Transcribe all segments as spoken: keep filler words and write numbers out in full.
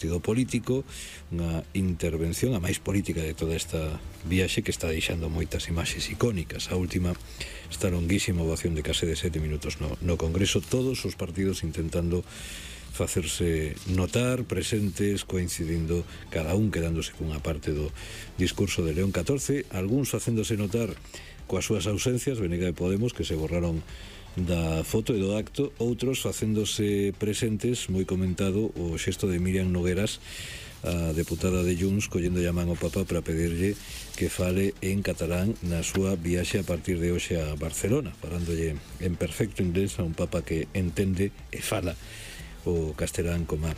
contido político, unha intervención a máis política de toda esta viaxe que está deixando moitas imaxes icónicas. A última, esta longuísima ovación de case de sete minutos no, no Congreso, todos os partidos intentando facerse notar, presentes, coincidindo, cada un quedándose cunha parte do discurso de León catorce, algúns facéndose notar coas súas ausencias, Venega de Podemos, que se borraron da foto e do acto, outros facéndose presentes, moi comentado o xesto de Miriam Nogueras, a deputada de Junts, collendo a man ao Papa para pedirlle que fale en catalán na súa viaxe a partir de hoxe a Barcelona, falándolle en perfecto inglés a un Papa que entende e fala o castelán como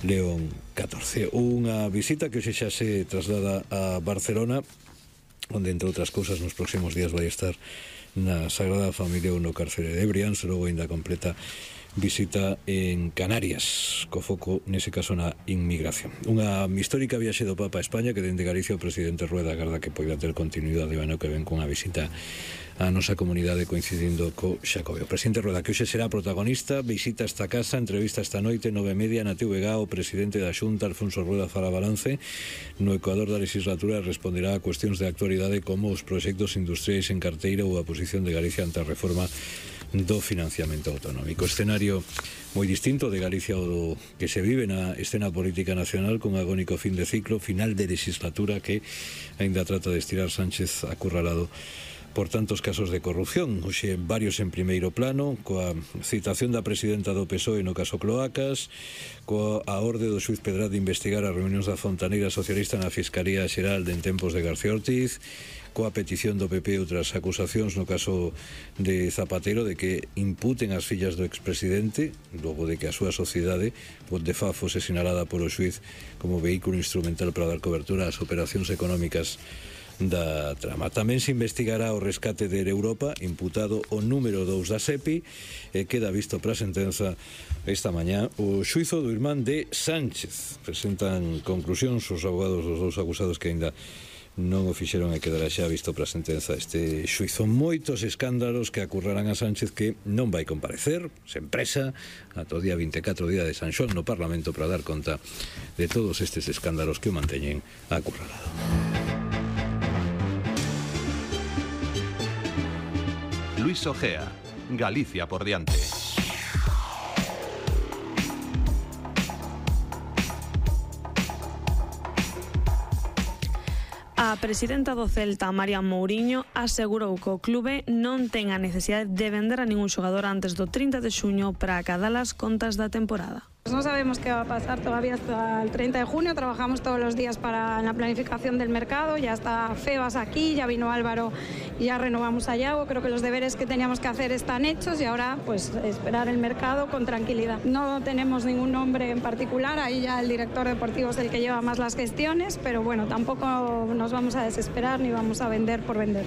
León catorce. Unha visita que hoxe xa se traslada a Barcelona, onde, entre outras cousas, nos próximos días vai estar na Sagrada Familia ou no cárcere de Brians, logo ainda completa visita en Canarias, co foco, nese caso, na inmigración. Unha histórica viaxe do Papa a España que dende Galicia o presidente Rueda agarda que poida ter continuidade o ano que ven cunha visita a nosa comunidade coincidindo co Xacobeo. O presidente Rueda, que hoxe será protagonista, visita esta casa, entrevista esta noite, nove e media, na T V G, o presidente da Xunta, Alfonso Rueda, fará balance no Ecuador da legislatura, responderá a cuestións de actualidade como os proxectos industriais en carteira ou a posición de Galicia ante a reforma do financiamento autonómico. Escenario moi distinto de Galicia o que se vive na escena política nacional, con agónico fin de ciclo, final de legislatura que aínda trata de estirar Sánchez acurralado por tantos casos de corrupción. Hoxe varios en primeiro plano, coa citación da presidenta do P S O E no caso Cloacas, coa a orde do xuiz Pedraz de investigar as reunións da Fontaneira Socialista na Fiscalía Xeral de en tempos de García Ortiz, coa petición do P P e outras acusacións no caso de Zapatero de que imputen as fillas do expresidente, logo de que a súa sociedade de F A fose sinalada polo xuiz como vehículo instrumental para dar cobertura ás operacións económicas da trama. Tamén se investigará o rescate de Europa, imputado o número dous da S E P I, e queda visto para a sentenza esta mañá o xuizo do irmán de Sánchez. Presentan conclusións os abogados dos dous acusados que aínda non o fixeron e quedará xa visto para a sentenza este xuizo. Moitos escándalos que acurrarán a Sánchez, que non vai comparecer, sen presa, ata o día vinte e catro, día de San Xoán, no Parlamento, para dar conta de todos estes escándalos que o manteñen acurralado. Luis Ojea, Galicia por diante. A presidenta do Celta, María Mouriño, asegurou que o clube non ten a necesidade de vender a ningún xogador antes do trinta de xuño para acadar as contas da temporada. No sabemos qué va a pasar todavía hasta el treinta de junio, trabajamos todos los días para la planificación del mercado, ya está Febas aquí, ya vino Álvaro y ya renovamos a Yago. Creo que los deberes que teníamos que hacer están hechos y ahora pues esperar el mercado con tranquilidad. No tenemos ningún nombre en particular, ahí ya el director deportivo es el que lleva más las gestiones, pero bueno, tampoco nos vamos a desesperar ni vamos a vender por vender.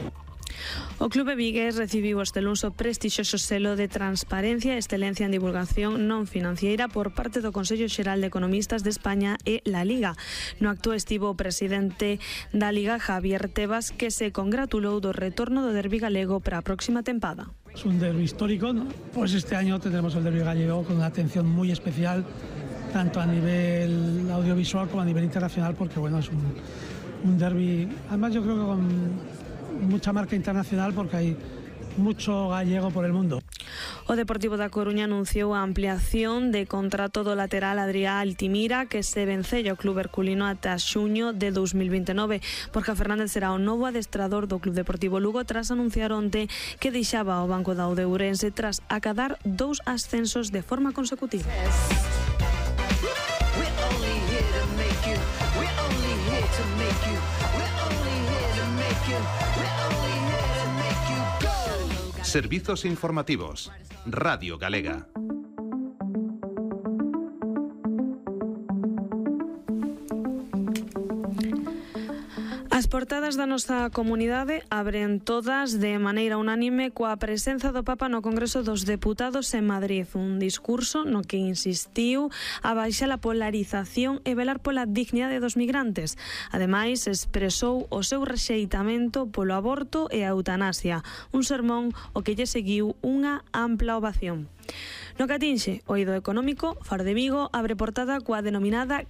O clube vigués recibiu este luns o prestixioso selo de transparencia e excelencia en divulgación non financiera por parte do Consello Xeral de Economistas de España e la Liga. No acto estivo o presidente da Liga, Javier Tebas, que se congratulou do retorno do derbi galego para a próxima tempada. Es un derbi histórico, ¿no? Pues este año tendremos el derbi gallego con una atención muy especial, tanto a nivel audiovisual como a nivel internacional, porque bueno, es un, un derbi, además yo creo que con mucha marca internacional, porque hay mucho gallego por el mundo. O Deportivo da Coruña anunciou a ampliación de contrato do lateral Adrián Altimira, que se vencella o club herculino ata xuño de dous mil vinte e nove. Borja Fernández será o novo adestrador do Club Deportivo Lugo tras anunciar onte que deixaba o banco da Ourense tras acadar dous ascensos de forma consecutiva. Servizos informativos. Radio Galega. As portadas da nosa comunidade abren todas de maneira unánime coa presenza do Papa no Congreso dos Deputados en Madrid, un discurso no que insistiu a baixar a polarización e velar pola dignidade dos migrantes. Ademais, expresou o seu rexeitamento polo aborto e a eutanasia, un sermón o que lle seguiu unha ampla ovación. No que atinxe o eido económico, Faro de Vigo abre portada coa denominada